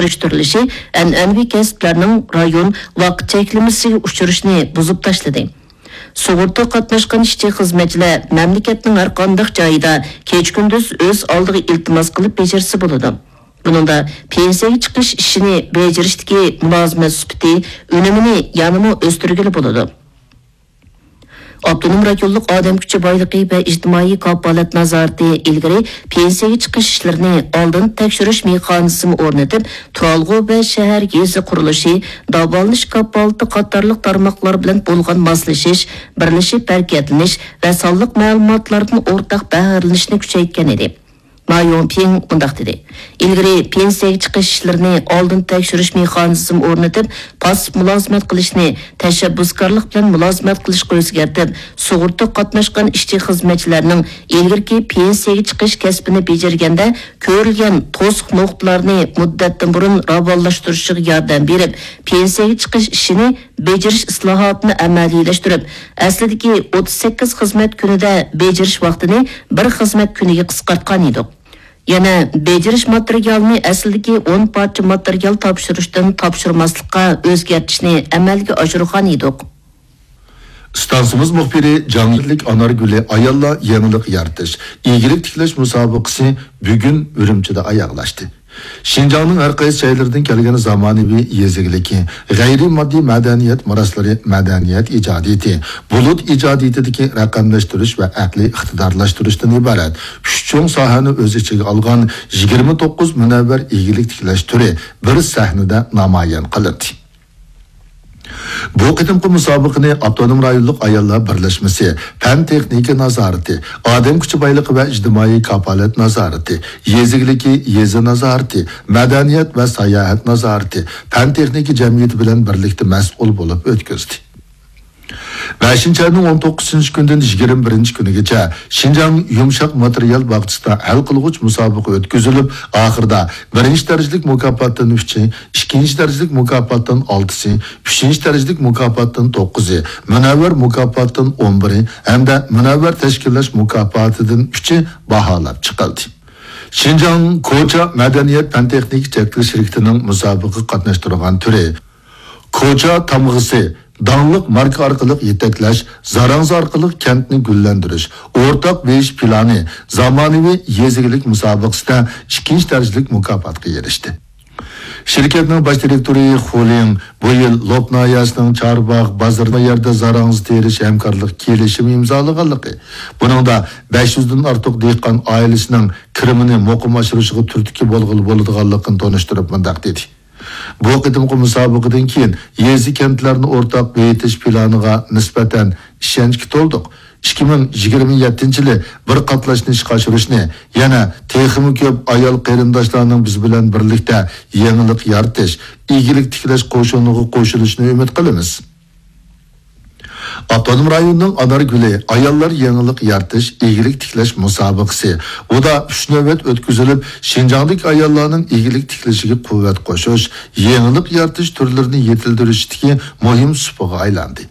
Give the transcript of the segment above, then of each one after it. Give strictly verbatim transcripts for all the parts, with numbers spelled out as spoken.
سۈرۈشتۈرۈلۈشى ئەنئەنىۋى كەسىپلەرنىڭ رايون ۋاقىت چەكلىمىسىگە ئۇچرىشىنى بۇزۇپ تاشلىدى. سۇغۇرتا قاتناشقان ئىشچى-خىزمەتچىلەر مەملىكەتنىڭ ھەر قانداق جايىدا كېچە-كۈندۈز ئۆز ئالدىغا ئىلتىماس قىلىپ بېجىرسە بولىدۇ. بۇنىڭدا پېنسىيەگە چىقىش ئىشىنى بېجىرىشتىكى مۇلازىمەت سۈپىتى، ئۈنۈمىنى يەنىمۇ ئۆستۈرگىلى بولىدۇ. ئاپتونوم رايونلۇق ئادەم كۈچى بايلىقى ۋە ئىجتىمائىي كاپالەت نازارىتى ئىلگىرى پېنسىيەگە چىقىش ئىشلىرىنى ئالدىن تەكشۈرۈش مېخانىزمى ئورنىتىپ، تۇرالغۇ ۋە شەھەر، يېزا قۇرۇلۇشى، داۋالىنىش كاپالىتى قاتارلىق تارماقلار بىلەن بولغان ماسلىشىش، بىرلىشىپ ھەرىكەتلىنىش ۋە سانلىق مەلۇماتلاردىن ئورتاق بەھرىلىنىشنى كۈچەيتكەن ئىدى. ما يوڭپىڭ مۇنداق دېدى: ئىلگىرى پېنسىيەگە چىقىش ئىشلىرىنى ئالدىن تەكشۈرۈش مېخانىزمى ئورنىتىپ، پاسسىپ مۇلازىمەت قىلىشنى، تەشەببۇسكارلىق بىلەن مۇلازىمەت قىلىشقا ئۆزگەرتىپ، سۇغۇرتا قاتناشقان ئىشچى-خىزمەتچىلەرنىڭ ئىلگىرىكى پېنسىيەگە چىقىش كەسپىنى بېجىرگەندە كۆرۈلگەن توسۇق نۇقتىلارنى مۇددەتتىن بۇرۇن راۋانلاشتۇرۇشىغا ياردەم بېرىپ، پېنسىيەگە چىقىش ئىشىنى بېجىرىش ئىسلاھاتىنى ئەمەلىيلەشتۈرۈپ، ئەسلىدىكى ئوتتۇز سەككىز خىزمەت كۈنىدە بېجىرىش ۋاقتىنى بىر خىزمەت كۈنىگە قىسقارتقان ئىدۇق. يەنە بېجىرىش ماتېرىيالىنى ئەسلىدىكى ئون پارچە ماتېرىيال تاپشۇرۇشتىن تاپشۇرماسلىققا ئۆزگەرتىشنى ئەمەلگە ئاشۇرغان ئىدۇق. ئىستانسىمىز مۇخبىرى جاڭيىلىك ئانارگۈلى ئاياللار يېڭىلىق يارىتىش، ئىگىلىك تىكلەش مۇسابىقىسى بۈگۈن ئۈرۈمچىدە ئاياغلاشتى. شىنجاڭنىڭ ھەر قايسى جايلىرىدىن كەلگەن زامانىۋى يېزا ئىگىلىكى، غەيرىي ماددىي مەدەنىيەت مىراسلىرى، مەدەنىيەت ئىجادىيىتى، بۇلۇت ئىجادىيىتىدىكى رەقەملەشتۈرۈش ۋە ئەقلىي ئىقتىدارلاشتۇرۇشتىن ئىبارەت ئۈچ چوڭ ساھەنى ئۆز ئىچىگە ئالغان يىگىرمە توققۇز مۇنەۋۋەر ئىگىلىك تىكلەش تۈرى بىر سەھنىدە نامايان قىلىندى. بۇ قېتىمقى مۇسابىقىنى ئاپتونوم رايونلۇق ئاياللار بىرلەشمىسى، پەن تېخنىكا نازارىتى، ئادەم كۈچى بايلىقى ۋە ئىجتىمائىي كاپالەت نازارىتى، يېزا ئىگىلىكى يېزا نازارىتى، مەدەنىيەت ۋە ساياھەت نازارىتى، پەن تېخنىكا جەمئىيىتى بىلەن بىرلىكتە مەسئۇل بولۇپ ئۆتكۈزدى. بەشىنچى ئاينىڭ ئون توققۇزىنچى كۈنىدىن يىگىرمە بىرىنچى كۈنىگىچە شىنجاڭ يۇمشاق ماتېرىيال باغچىسىدا ھەل قىلغۇچ مۇسابىقە ئۆتكۈزۈلۈپ، ئاخىرىدا بىرىنچى دەرىجىلىك مۇكاپاتتىن ئۈچى، ئىككىنچى دەرىجىلىك مۇكاپاتتىن ئالتىسى، ئۈچىنچى دەرىجىلىك مۇكاپاتتىن توققۇزى، مۇنەۋۋەر مۇكاپاتتىن ئون بىرى ھەمدە مۇنەۋۋەر تەشكىللەش مۇكاپاتىدىن ئۈچى باھالاپ چىقىلدى. شىنجاڭ كوچا مەدەنىيەت پەن تېخنىكا چەكلىك شىركىتىنىڭ مۇسابىقىگە قاتناشتۇرغان تۈرى، كوچا تامغىسى، داڭلىق ماركا ئارقىلىق يېتەكلەش، زاراڭزا ئارقىلىق كەنتنى گۈللەندۈرۈش، ئورتاق بېيىش پىلانى، زامانىۋى يېزا ئىگىلىك مۇسابىقىسىدە ئىككىنچى دەرىجىلىك مۇكاپاتقا ئېرىشتى. شىركەتنىڭ باش دىرېكتورى خۇ لىڭ بۇ يىل لوپ ناھىيەسىنىڭ چارباغ بازىرىدا يەردە زاراڭزا تېرىش ھەمكارلىق كېلىشىمى ئىمزالىغانلىقى، بۇنىڭدا بەش يۈزدىن ئارتۇق دېھقان ئائىلىسىنىڭ كىرىمىنى مۇقىم ئاشۇرۇشىغا تۈرتكە بولغىلى بولىدىغانلىقىنى تونۇشتۇرۇپ مۇنداق دېدى. بۇ قېتىمقى مۇسابىقىدىن كېيىن يېزا، كەنتلەرنى ئورتاق بېيىتىش پىلانىغا نىسبەتەن ئىشەنچكە تولدۇق. ئىككى مىڭ يىگىرمە يەتتىنچى يىلى بىر قاتلاشنى ئىشقا ئاشۇرۇشنى، يەنە تېخىمۇ كۆپ ئايال قېرىنداشلارنىڭ بىز بىلەن بىرلىكتە يېڭىلىق يارىتىش، ئىگىلىك تىكلەش قوشۇنىغا قوشۇلۇشىنى ئۈمىد قىلىمىز. ئاپتونوم رايوننىڭ ئانارگۈلى ئاياللار يېڭىلىق يارىتىش، ئىگىلىك تىكلەش مۇسابىقىسى ئۇدا ئۈچ نۆۋەت ئۆتكۈزۈلۈپ، شىنجاڭدىكى ئاياللارنىڭ ئىگىلىك تىكلىشىگە قۇۋۋەت قوشۇش، يېڭىلىق يارىتىش تۈرلىرىنى يېتىلدۈرۈشتىكى مۇھىم سۇپىغا ئايلاندى.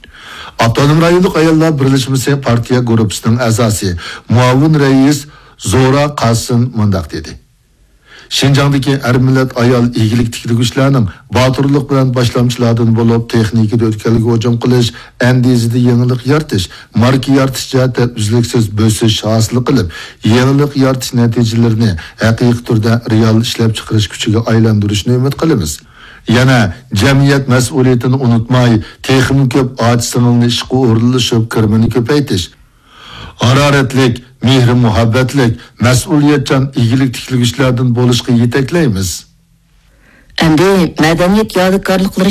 ئاپتونوم رايونلۇق ئاياللار بىرلەشمىسى پارتىيە گۇرۇپپىسىنىڭ ئەزاسى، مۇئاۋىن رەئىس زورا قاسىم مۇنداق دېدى: شىنجاڭدىكى ھەر مىللەت ئايال ئىگىلىك تىكلىگۈچىلەرنىڭ باتۇرلۇق بىلەن باشلامچىلاردىن بولۇپ، تېخنىكىدا ئۆتكەلگە ھۇجۇم قىلىش، ئەندىزىدە يېڭىلىق يارىتىش، ماركا يارىتىش جەھەتتە ئۈزلۈكسىز بۆسۈش ھاسىل قىلىپ، يېڭىلىق يارىتىش نەتىجىلىرىنى ھەقىقىي تۈردە رېئال ئىشلەپچىقىرىش كۈچىگە ئايلاندۇرۇشىنى ئۈمىد قىلىمىز. يەنە جەمئىيەت مەسئۇلىيىتىنى ئۇنتۇماي، تېخىمۇ كۆپ ئاچا-سىڭىلنى ئىشقا ئورۇنلىشىپ، كىرىمىنى كۆپەيتىش، ھارارەتلىك، مېھرى-مۇھەببەتلىك، مەسئۇلىيەتچان ئىگىلىك تىكلىگۈچىلەردىن بولۇشقا يېتەكلەيمىز. ئەمدى مەدەنىيەت يادىكارلىقلىرى